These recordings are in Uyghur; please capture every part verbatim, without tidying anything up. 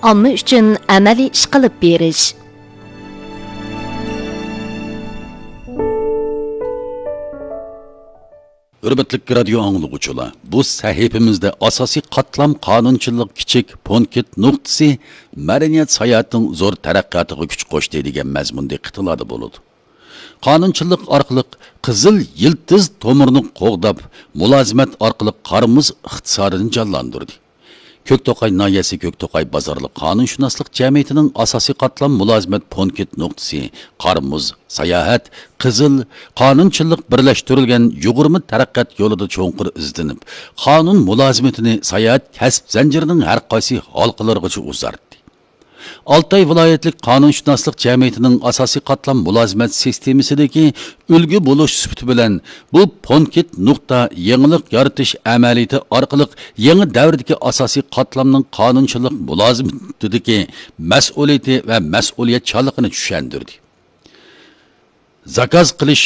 ئامما ئۈچۈن ئەمەلىي ئىش قىلىپ بېرىش. ھۆرمەتلىك رادىيو ئاڭلىغۇچىلار، بۇ سەھىپىمىزدە ئاساسىي قاتلام قانۇنچىلىق كىچىك پونكىت نۇقتىسى مەدەنىيەت ساياھەتنىڭ زور تەرەققىياتىغا كۈچ قوشتى دېگەن مەزمۇن دىققىتىڭلاردا بولىدۇ. قانۇنچىلىق ئارقىلىق قىزىل يىلتىز تومۇرىنى قوغداپ، مۇلازىمەت ئارقىلىق قار-مۇز ئىقتىسادىنى جانلاندۇردى. كۆكتوقاي ناھىيەسى كۆكتوقاي بازارلىق قانۇنشۇناسلىق جەمئىيىتىنىڭ ئاساسىي قاتلام مۇلازىمەت پونكىت نۇقتىسى قار-مۇز، ساياھەت، قىزىل، قانۇنچىلىق بىرلەشتۈرۈلگەن يۇغۇرما تەرەققىيات يولىدا چوڭقۇر ئىزدىنىپ، قانۇن مۇلازىمىتىنى ساياھەت كەسىپ زەنجىرىنىڭ ھەر قايسى ھالقىلىرىغىچە ئۇزارتتى. ئالتاي ۋىلايەتلىك قانۇنشۇناسلىق جەمئىيىتىنىڭ ئاساسىي قاتلام مۇلازىمەت سىستېمىسىدىكى ئۈلگە بولۇش سۈپىتى بىلەن، بۇ پونكىت نۇقتا يېڭىلىق يارىتىش ئەمەلىيىتى ئارقىلىق يېڭى دەۋردىكى ئاساسىي قاتلامنىڭ قانۇنچىلىق مۇلازىمىتىدىكى مەسئۇلىيىتى ۋە مەسئۇلىيەتچانلىقىنى چۈشەندۈردى. زاكاز قىلىش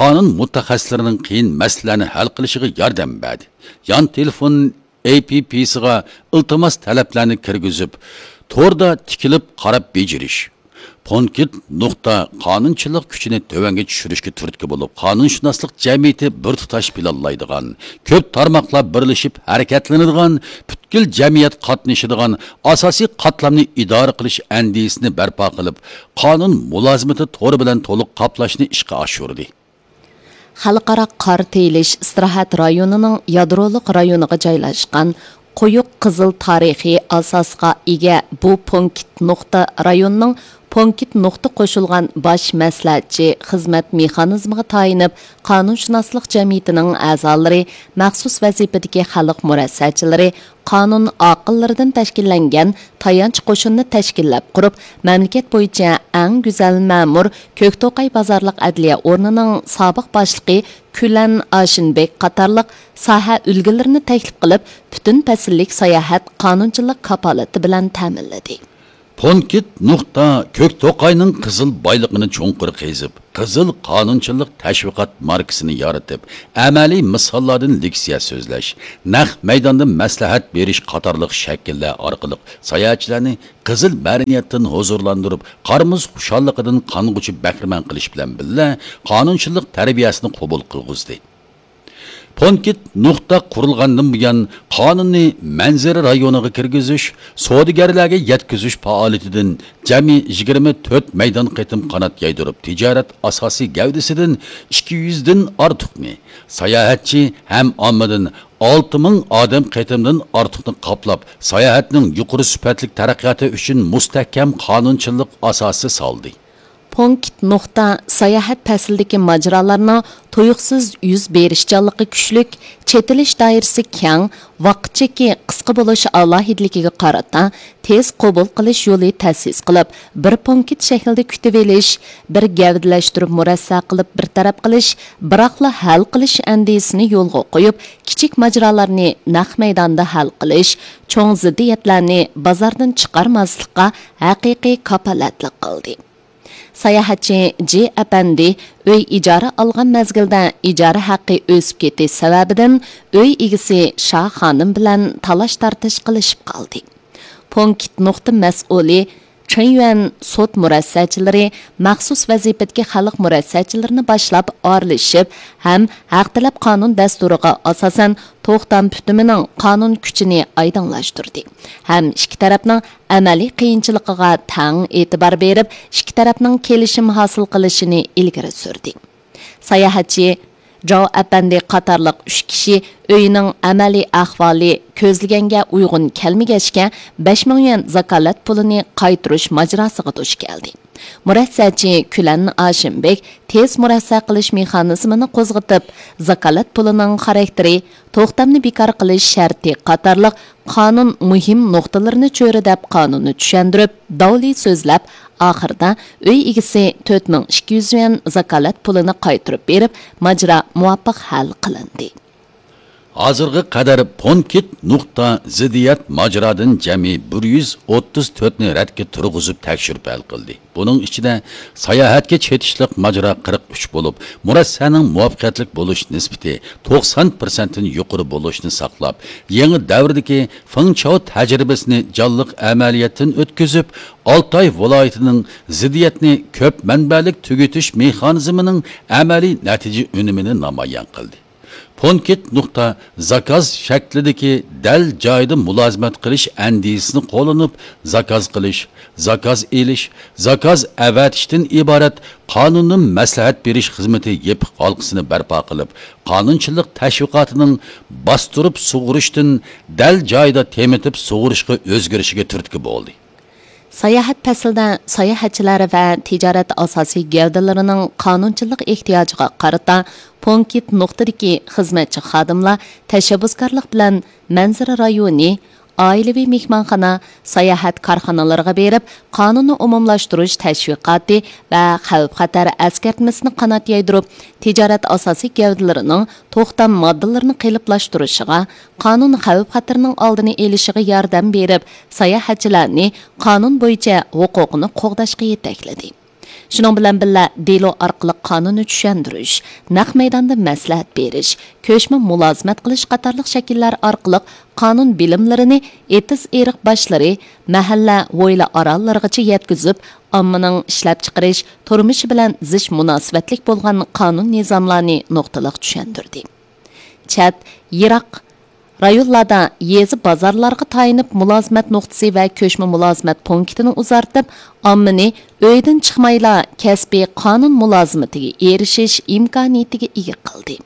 قانۇن مۇتەخەسسىسلىرىنىڭ قىيىن مەسىلىلەرنى ھەل قىلىشىغا ياردەم بەردى. يان تېلېفون ئېي پى پىسىغا ئىلتىماس تەلەپلەرنى كىرگۈزۈپ، توردا تىكىلىپ قاراپ بېجىرىش. پونكىت نۇقتا قانۇنچىلىق كۈچىنى تۆۋەنگە چۈشۈرۈشكە تۈرتكە بولۇپ، قانۇنشۇناسلىق جەمئىيىتى بىر تۇتاش پىلانلايدىغان، كۆپ تارماقلار بىرلىشىپ ھەرىكەتلىنىدىغان، پۈتكۈل جەمئىيەت قاتنىشىدىغان ئاساسىي قاتلامنى ئىدارە قىلىش ئەندىزىسىنى بەرپا قىلىپ، قانۇن مۇلازىمىتى تورى بىلەن تولۇق قاپلاشنى ئىشقا ئاشۇردى. خەلقئارا قار تېيىلىش ئىستىراھەت رايونىنىڭ يادرولۇق رايونىغا جايلاشقان قويۇق قىزىل تارىخىي ئاساسقا ئىگە بۇ پونكىت نۇقتا رايوننىڭ پونكىت نۇقتا قوشۇلغان باش مەسلىھەتچى خىزمەت مېخانىزمىغا تايىنىپ، قانۇنشۇناسلىق جەمئىيىتىنىڭ ئەزالىرى، مەخسۇس ۋەزىپىدىكى خەلق مۇرەسسەچىلىرى، قانۇن ئاقىللىرىدىن تەشكىللەنگەن تايانچ قوشۇننى تەشكىللەپ قۇرۇپ، مەملىكەت بويىچە ئەڭ گۈزەل مەمۇر، كۆكتوقاي بازارلىق ئەدلىيە ئورنىنىڭ سابىق باشلىقى كۈلەن ئاشىنبېك قاتارلىق ساھە ئۈلگىلىرىنى تەكلىپ قىلىپ، پۈتۈن پەسىللىك ساياھەت قانۇنچىلىق كاپالىتى بىلەن تەمىنلىدى. پونكىت نۇقتا كۆكتوقاينىڭ قىزىل بايلىقىنى چوڭقۇر قېزىپ، قىزىل قانۇنچىلىق تەشۋىقات ماركىسىنى يارىتىپ، ئەمەلىي مىساللاردىن لېكسىيە سۆزلەش، نەق مەيداندا مەسلىھەت بېرىش قاتارلىق شەكىللەر ئارقىلىق ساياھەتچىلەرنى قىزىل مەدەنىيەتتىن ھۇزۇرلاندۇرۇپ، قار-مۇز خۇشاللىقىدىن قانغۇچە بەھرىمەن قىلىش بىلەن بىللە، قانۇنچىلىق تەربىيەسىنى قوبۇل قىلغۇزدى. پونكىت نۇقتا قۇرۇلغاندىن بۇيان، قانۇننى مەنزىرە رايونىغا كىرگۈزۈش، سودىگەرلەرگە يەتكۈزۈش پائالىيىتىدىن جەمئىي يىگىرمە تۆت مەيدان قېتىم قانات يايدۇرۇپ، تىجارەت ئاساسىي گەۋدىسىدىن ئىككى يۈزدىن ئارتۇقنى، ساياھەتچى ھەم ئاممىدىن ئالتە مىڭ ئادەم قېتىمدىن ئارتۇقنى قاپلاپ، ساياھەتنىڭ يۇقىرى سۈپەتلىك تەرەققىياتى ئۈچۈن مۇستەھكەم قانۇنچىلىق ئاساسى سالدى. پونكىت نۇقتا ساياھەت پەسلىدىكى ماجىرالارنىڭ تۇيۇقسىز يۈز بېرىشچانلىقى كۈچلۈك، چېتىلىش دائىرىسى كەڭ، ۋاقىت چېكى قىسقا بولۇش ئالاھىدىلىكىگە قارىتا، تېز قوبۇل قىلىش يولى تەسىس قىلىپ، بىر پونكىت شەكلىدە كۈتۈۋېلىش، بىر گەۋدىلەشتۈرۈپ مۇرەسسە قىلىپ بىر تەرەپ قىلىش، بىراقلا ھەل قىلىش ئەندىزىسىنى يولغا قويۇپ، كىچىك ماجىرالارنى نەق مەيداندا ھەل قىلىش، چوڭ زىددىيەتلەرنى بازاردىن چىقارماسلىققا ھەقىقىي كاپالەتلىك قىلدى. ساياھەتچى جى ئەپەندى ئۆي ئىجارە ئالغان مەزگىلدە ئىجارە ھەققى ئۆسۈپ كېتىش سەۋەبىدىن ئۆي ئىگىسى شا خانىم بىلەن تالاش-تارتىش قىلىشىپ قالدى. پونكىت نۇقتا مەسئۇلى چېن يۈەن سوت مۇرەسسەچىلىرى، مەخسۇس ۋەزىپىدىكى خەلق مۇرەسسەچىلىرىنى باشلاپ ئارىلىشىپ ھەم ھەق تەلەپ قانۇن دەستۇرىغا ئاساسەن توختام پۈتۈمىنىڭ قانۇن كۈچىنى ئايدىڭلاشتۇردى ھەم ئىككى تەرەپنىڭ ئەمەلىي قىيىنچىلىقىغا تەڭ ئېتىبار بېرىپ، ئىككى تەرەپنىڭ كېلىشىم ھاسىل قىلىشىنى ئىلگىرى سۈردى. ساياھەتچى جاۋ ئەپەندى قاتارلىق ئۈچ كىشى ئۆيىنىڭ ئەمەلىي ئەھۋالى كۆزلىگەنگە ئۇيغۇن كەلمىگەچكە، بەش مىڭ يۈەن زاكالەت پۇلىنى قايتۇرۇش ماجىراسىغا دۇچ كەلدى. مۇرەسسەچى كۈلەن ئاشىمبېك تېز مۇرەسسە قىلىش مېخانىزمىنى قوزغىتىپ، زاكالەت پۇلىنىڭ خاراكتېرى، توختامنى بىكار قىلىش شەرتى قاتارلىق قانۇن مۇھىم نۇقتىلىرىنى چۆرىدەپ قانۇننى چۈشەندۈرۈپ، داۋلى سۆزلەپ، ئاخىرىدا ئۆي ئىگىسى تۆت مىڭ ئىككى يۈز يۈەن زاكالەت پۇلىنى قايتۇرۇپ بېرىپ، ماجىرا مۇۋاپىق ھەل قىلىندى. ھازىرغا قەدەر پونكىت نۇقتا زىددىيەت ماجىرادىن جەمئىي بىر يۈز ئوتتۇز تۆتنى رەتكە تۇرغۇزۇپ تەكشۈرۈپ ھەل قىلدى. بۇنىڭ ئىچىدە ساياھەتكە چېتىشلىق ماجىرا قىرىق ئۈچ بولۇپ، مۇرەسسەنىڭ مۇۋەپپەقىيەتلىك بولۇش نىسبىتى توقسان پىرسەنتتىن يۇقىرى بولۇشنى ساقلاپ، يېڭى دەۋردىكى فېڭچاۋ تەجرىبىسىنى جانلىق ئەمەلىيەتتىن ئۆتكۈزۈپ، ئالتاي ۋىلايىتىنىڭ زىددىيەتنى كۆپ مەنبەلىك تۈگىتىش مېخانىزمىنىڭ ئەمەلىي نەتىجە ئۈنۈمىنى نامايان قىلدى. پونكىت نۇقتا زاكاز شەكلىدىكى دەل جايىدا مۇلازىمەت قىلىش ئەندىزىسىنى قوللىنىپ، زاكاز قىلىش، زاكاز ئېلىش، زاكاز ئەۋەتىشتىن ئىبارەت قانۇنىي مەسلىھەت بېرىش خىزمىتى يېپىق ھالقىسىنى بەرپا قىلىپ، قانۇنچىلىق تەشۋىقاتىنىڭ باستۇرۇپ سۇغۇرۇشتىن دەل جايىدا تېمىتىپ سۇغۇرۇشقا ئۆزگىرىشىگە تۈرتكە بولدى. ساياھەت پەسلىدە ساياھەتچىلەر ۋە تىجارەت ئاساسىي گەۋدىلىرىنىڭ قانۇنچىلىق ئېھتىياجىغا قارىتا، پونكىت نۇقتىدىكى خىزمەتچى خادىملار تەشەببۇسكارلىق بىلەن مەنزىرە رايونى، ئائىلىۋى مېھمانخانا، ساياھەت كارخانىلىرىغا بېرىپ، قانۇننى ئومۇملاشتۇرۇش تەشۋىقاتى ۋە خەۋپ خەتەر ئەسكەرتمىسىنى قانات يايدۇرۇپ، تىجارەت ئاساسىي گەۋدىلىرىنىڭ توختام ماددىلىرىنى قېلىپلاشتۇرۇشىغا، قانۇن خەۋپ خەتىرىنىڭ ئالدىنى ئېلىشىغا ياردەم بېرىپ، ساياھەتچىلەرنى قانۇن بويىچە ھوقۇقىنى قوغداشقا يېتەكلىدى. شۇنىڭ بىلەن بىللە، دېلو ئارقىلىق قانۇننى چۈشەندۈرۈش، نەق مەيداندا مەسلىھەت بېرىش، كۆچمە مۇلازىمەت قىلىش قاتارلىق شەكىللەر ئارقىلىق قانۇن بىلىملىرىنى ئېتىز-ئېرىق باشلىرى، مەھەللە، ھويلا ئاراللىرىغىچە يەتكۈزۈپ، ئاممىنىڭ ئىشلەپچىقىرىش، تۇرمۇشى بىلەن زىچ مۇناسىۋەتلىك بولغان قانۇن نىزاملارنى نۇقتىلىق چۈشەندۈردى. چەت، يىراق رايونلاردا يېزا، بازارلارغا تايىنىپ مۇلازىمەت نۇقتىسى ۋە كۆچمە مۇلازىمەت پونكىتىنى ئۇزارتىپ، ئاممىنى ئۆيدىن چىقمايلا كەسپىي قانۇن مۇلازىمىتىگە ئېرىشىش ئىمكانىيىتىگە ئىگە قىلدى.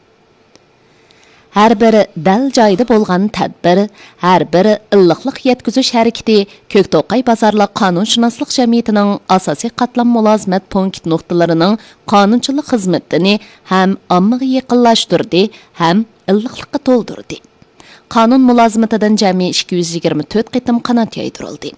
ھەر بىر دەل جايىدا بولغان تەدبىر، ھەر بىر ئىللىقلىق يەتكۈزۈش ھەرىكىتى كۆكتوقاي بازارلىق قانۇنشۇناسلىق جەمئىيىتىنىڭ ئاساسىي قاتلام مۇلازىمەت پونكىت نۇقتىلىرىنىڭ قانۇنچىلىق خىزمىتىنى ھەم ئاممىغا يېقىنلاشتۇردى، ھەم ئىللىقلىققا تولدۇردى. قانۇن مۇلازىمىتىدىن جەمئىي ئىككى يۈز يىگىرمە تۆت قېتىم قانات يايدۇرۇلدى.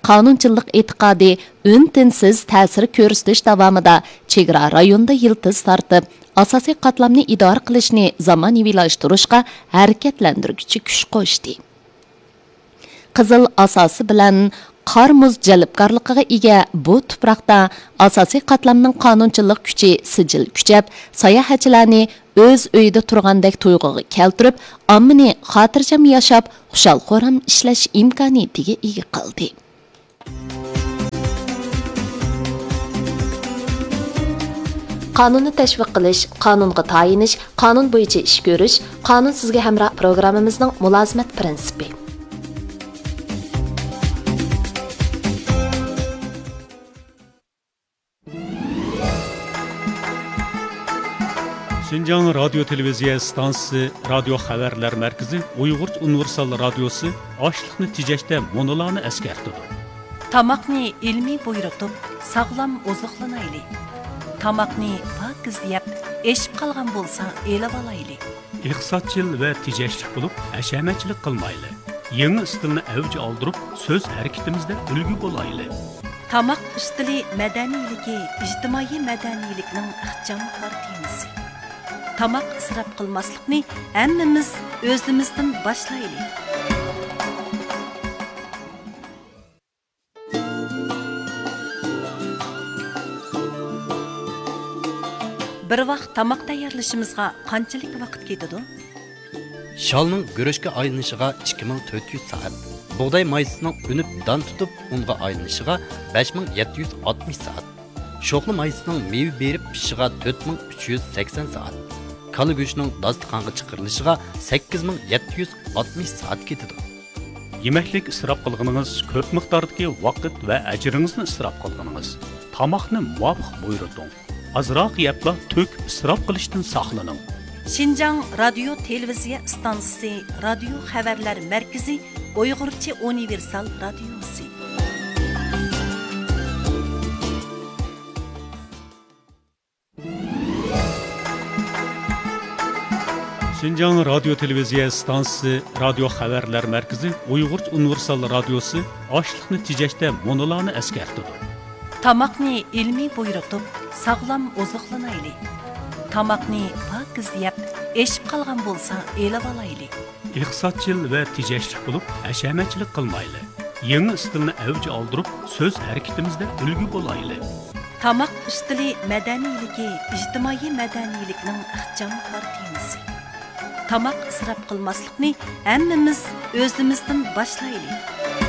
قانۇنچىلىق ئېتىقادى ئۈن-تىنسىز تەسىر كۆرسىتىش داۋامىدا چېگرا رايونىدا يىلتىز تارتىپ، ئاساسىي قاتلامنى ئىدارە قىلىشنى زامانىۋىلاشتۇرۇشقا ھەرىكەتلەندۈرگۈچى كۈچ قوشتى. قىزىل ئاساسى بىلەن قار-مۇز جەلپكارلىقىغا ئىگە بۇ تۇپراقتا ئاساسىي قاتلامنىڭ قانۇنچىلىق كۈچى سىجىل كۈچەپ، ساياھەتچىلەرنى ئۆز ئۆيىدە تۇرغاندەك تۇيغۇغا كەلتۈرۈپ، ئاممىنى خاتىرجەم ياشاپ، خۇشال-خۇرام ئىشلەش ئىمكانىيىتىگە ئىگە قىلدى. قانۇننى تەشۋىق قىلىش، قانۇنغا تايىنىش، قانۇن بويىچە ئىش كۆرۈش، قانۇن سىزگە ھەمراھ پروگراممىمىزنىڭ مۇلازىمەت پىرىنسىپى. شىنجاڭ رادىيو تېلېۋىزىيە ئىستانسىسى رادىيو خەۋەرلەر مەركىزى ئۇيغۇرچە ئۇنىۋېرسال رادىيوسى ئاشلىقنى تېجەشتە مۇنۇلارنى ئەسكەرتىدۇ. تاماقنى ئىلمىي بۇيرۇتۇپ، ساغلام ئوزۇقلىنايلى. تاماقنى پاكىز يەپ، ئېشىپ قالغان بولسا ئېلىۋالايلى. ئىقتىسادچىل ۋە تېجەشلىك بولۇپ، ھەشەمەتچىلىك قىلمايلى. يېڭى ئىستىلنى ئەۋج ئالدۇرۇپ، سۆز ھەرىكىتىمىزدە ئۈلگە بولايلى. تاماق ئۈستىلى مەدەنىيلىكى ئىجتىمائىي مەدەنىيلىكنىڭ ئىخچام كارتىنىسى. تاماق ئىسراپ قىلماسلىقنى ھەممىمىز ئۆزىمىزدىن باشلايلى. بىر ۋاق تاماق تەييارلىشىمىزغا قانچىلىك ۋاقىت كېتىدۇ؟ شالنىڭ گۈرۈچكە ئايلىنىشىغا ئىككى مىڭ تۆت يۈز سائەت، بۇغداي مايسىسىنىڭ ئۈنۈپ دان تۇتۇپ ئۇنغا ئايلىنىشىغا بەش مىڭ يەتتە يۈز ئاتمىش سائەت، شوخلا مايسىسىنىڭ مېۋە بېرىپ پىشىشىغا تۆت مىڭ ئۈچ يۈز سەكسەن سائەت، كالا گۆشىنىڭ داستىخانغا چىقىرىلىشىغا سەككىز مىڭ يەتتە يۈز ئاتمىش سائەت كېتىدۇ. يېمەكلىك ئىسراپ قىلغىنىڭىز كۆپ مىقداردىكى ۋاقىت ۋە ئەجرىڭىزنى ئىسراپ قىلغىنىڭىز. تاماقنى مۇۋاپىق بۇيرۇتۇڭ. ئازراق يەپلا تۆكۈپ ئىسراپ قىلىشتىن ساقلىنىڭ. شىنجاڭ رادىيو تېلېۋىزىيە ئىستانسىسى رادىيو خەۋەرلەر مەركىزى ئۇيغۇرچە ئۇنىۋېرسال رادىيوسى. شىنجاڭ رادىيو تېلېۋىزىيە ئىستانسىسى رادىيو خەۋەرلەر مەركىزى ئۇيغۇرچە ئۇنىۋېرسال رادىيوسى ئاشلىقنى تېجەشتە مۇنۇلارنى ئەسكەرتىدۇ. تاماقنى ئىلمىي بۇيرۇتۇپ، ساغلام ئوزۇقلىنايلى. تاماقنى پاكىز يەپ، ئېشىپ قالغان بولسا ئېلىۋالايلى. ئىقتىسادچىل ۋە تېجەشلىك بولۇپ، ھەشەمەتچىلىك قىلمايلى. يېڭى ئىستىلنى ئەۋج ئالدۇرۇپ، سۆز ھەرىكىتىمىزدە ئۈلگە بولايلى. تاماق ئۈستىلى مەدەنىيلىكى ئىجتىمائىي مەدەنىيلىكنىڭ ئىخچام قارا تېمىسى. تاماق ئىسراپ قىلماسلىقنى ھەممىمىز ئۆزىمىزدىن باشلايلى.